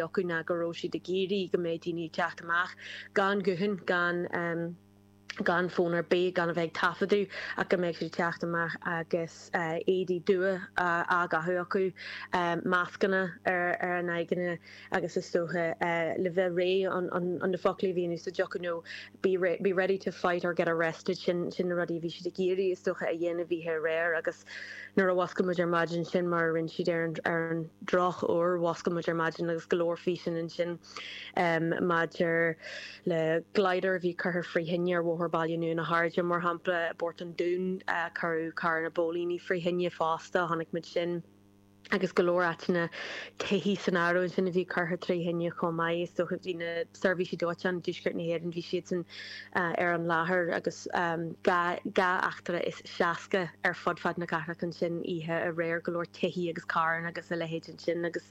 acu ná go raibh siad ag iarraidh go mbeadh daoine ag teacht amach gan guthán, gan gan fón ar bith, gan a bheith ag taifeadadh ach go mbeadh siad ag teacht amach agus éadaí dubha á gcaitheamh acu, mascanna ar a n-aghaidheanna agus is dócha le bheith réidh, an na foclaí a bhí in úsáid acu nó be be ready to fight or get arrested, sin sin na rudaí a bhí siad ag iarraidh is dócha a dhéanamh oíche aréir agus nuair a mhuscail muid ar maidin sin mar a rinne siad ar an ar an drochuair, mhuscail muid ar maidin agus go leor físeán ansin maidir le glider a bhí curtha frí thine ar Bhóthar Baile Nua na hAirde mar shampla, i bPort an Dúin cuireadh carranna póilíní frí thine fosta, chonaic muid sin. agus go leor áiteanna, tithí san áireamh ansin a bhí curtha trí thine chomh maith. Is dócha bhí na seirbhísí dóiteáin i dtuaisceart na hÉireann, bhí siadsan ar an láthair agus 2 eachtra is 60 ar fud fad na cathrach ansin oíche aréir, go leor tithí agus carranna agus a leithéid ansin agus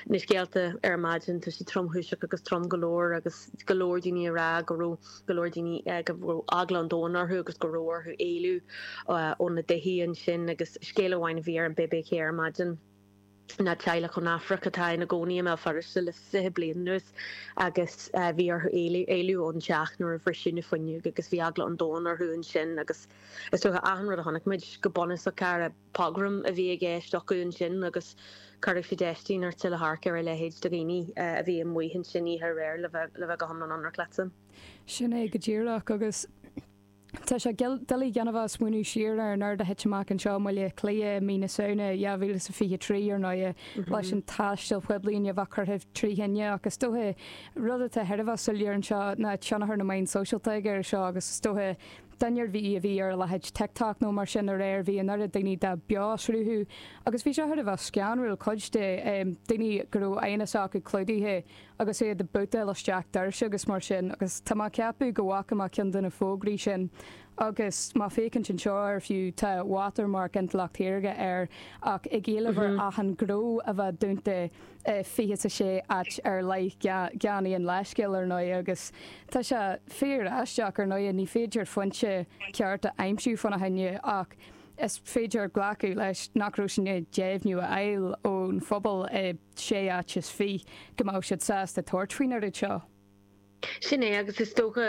na scéalta ar maidin, tá siad tromchúiseach agus trom go leor agus go leor daoine ag rá go raibh go leor daoine go raibh eagla an domhain orthu agus go raibh orthu éalú ó na dtithí ansin agus scéal amháin a bhí ar an bbc ar maidin ná teaghlach ón Afraic atá ina gcónaí i mBéal Feirste le 20 bliain anuas agus bhí orthu éalú ón teach nuair a bhriseadh na fuinneoga agus bhí eagla an domhain orthu ansin agus is dócha achan rud a chonaic muid go bunúsach cara pogrom a bhí i gceist acu ansin agus cuirfeadh sé déistín ort le hamharc ar a leithéid de dhaoine a bhí amuigh ansin oíche aréir le bheith go hiomlán ionraic leatsa. Sin é go díreach agus tá sé doiligh gan a bheith ag smaoineamh siar ar an rud a thit amach anseo i mBaile Átha Cliath i mí na Samhna 2023, ar ndóighe, leis an taisteal poiblí a bheith curtha trí thine ach is dócha rud atá thar a bheith soiléir anseo ná tionchar na meán sóisialta ag air seo agus is dócha duine ar bith a bhí ar a leithéid TikTok nó mar sin aréir bhí an oiread daoine dá beo-sruthú agus bhí sé thar a bheith scanrúil cuid de daoine go raibh aghaidheanna s'acu clúdaithe agus iad ag bútáil isteach doirse agus mar sin agus tá mé ag ceapadh go bhfaca mé ceann de na fógraí sin agus má féachaint anseo air fiú tá watermark Intleacht Shaorga air ach ag éileamh ar achan ghnó a bheith dúnta i 26 áit ar leith gan aon leithscéal ar ndóigh agus tá sé fíor aisteach ar ndóigh ní féidir foinse ceart a aimsiú fána choinne ach is féidir glacadh leis nach raibh siad i ndiaidh deimhniú a fháil ón phobal i sé áit is fich go mbeadh siad sásta tabhairt faoin oiread seo. Sin é, agus is dócha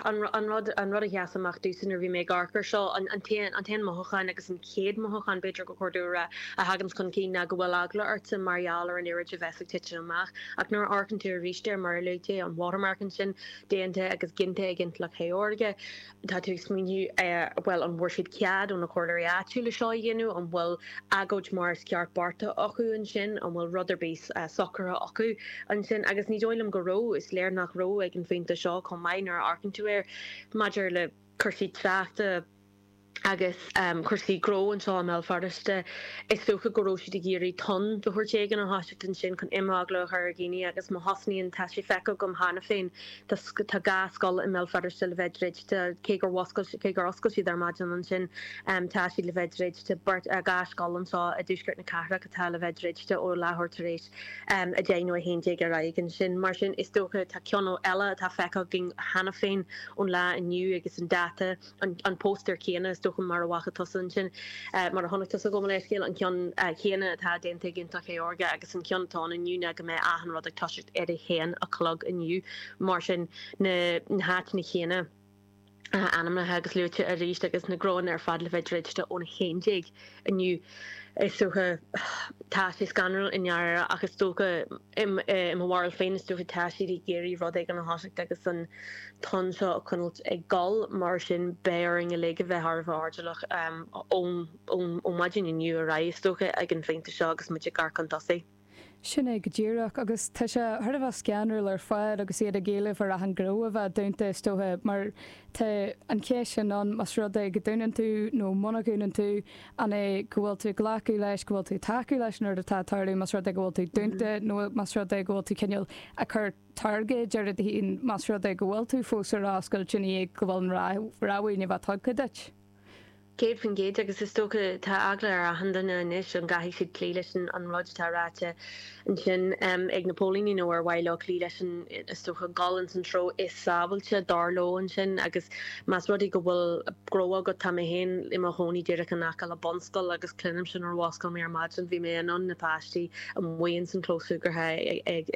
an rud an rud a sheas amach domhsa nuair a bhí mé ag amharc air seo, an t-aon an t-aon mothúchán agus an chéad mothúchán b'fhéidir gur chóir domh a rá a thaganns chun cinn ná go bhfuil eagla ortsa mar gheall ar an oiread a bheas ag titim amach. Ach nuair a amharcann tú arís air, mar a luaigh tú, an watermark ansin déanta agus ginte ag Intleacht Shaorga, Tá tú ag smaoineamh, bhuel, an bhfuair siad cead ó na comhairleoirí áitiúla seo a dhéanamh? An bhfuil agóid mar is ceart beartaithe acu ansin? An bhfuil rud ar bith socraithe acu ansin? Agus ní dóigh liom go raibh. Is léir nach raibh ag an phointe seo chomh maith nuair a amharcann tú air. Maidir le cúrsaí tráchta agus cúrsaí gnó anseo i mBéal Feirste, is dócha go raibh siad ag iarraidh tonn de shórt éigin a thoiseacht ansin chun imeagla a chur ar dhaoine agus má thosnaíonn, tá sé feicthe agam cheana féin, Tá 2 scoil i mBéal Feirste le bheith druidte, cé gur mhuscail, cé gur oscail siad ar maidin ansin, tá siad le bheith druidte. Beirt, 2 scoil anseo i dtuaisceart na cathrach atá le bheith druidte ó leathuair tar éis 10 nó 11 ar aghaidh ansin. Mar sin, is dócha, tá ceann eile atá feicthe againn cheana féin ón lá inniu agus an dáta, an póstaer céanna, is dócha, mar a bhfaca tusa ansin, mar a chonaic tusa, gabh mo leithscéal, an ceann céanna atá déanta ag Intleacht Shaorga agus an ceann atá ann inniu ná go mbeidh achan rud ag toiseacht ar a haon a chlog inniu. Mar sin, na háiteanna céanna ainmnithe agus luaite arís agus na gnóanna ar fad le bheith druidte ón 11 inniu. Is dócha, tá sé scanrúil i ndáiríre ach is dócha, i mo bharúil féin, is dócha tá siad ag iarraidh rud éigin a thoiseacht agus an tonn seo a choinneáilt ag dul, mar sin beidh orainn uilig a bheith thar a bheith airdeallach ón maidin inniu ar aghaidh, is dócha, ag an phointe seo agus muid ag amharc chun tosaigh. Sin é go díreach, agus tá sé thar a bheith scanrúil ar fad agus iad ag éileamh ar achan ghnó a bheith dúnta, is dócha, mar tá an cheist sin ann, más rud é go dúnann tú nó muna dhúnann tú, an é go bhfuil tú ag glacadh leis, go bhfuil tú ag tacú leis an rud atá ag tarlú, más rud é go bhfuil tú dúnta nó más rud é go bhfuil tú cineál ag cur targaid ar do fhéin, más rud é go bhfuil tú fós ar oscailt i ndiaidh go bhfuil an rabhadh i ndiaidh a bheith tugtha duit. 100% agus is dócha tá eagla ar achan duine anois an gcaithfidh siad cloí leis an rud atá ráite ansin ag na póilíní nó ar mhaith leo cloí leis an, is dócha, dul ins an treo is sábháilte dar leo ansin agus más rud é go bhfuil gnó agat, tá mé féin i mo chónaí díreach in aice le bunscoil agus cluinimse nuair a mhuscail mé ar maidin, bhí mé in ann na páistí amuigh ins an chlós súgartha ag.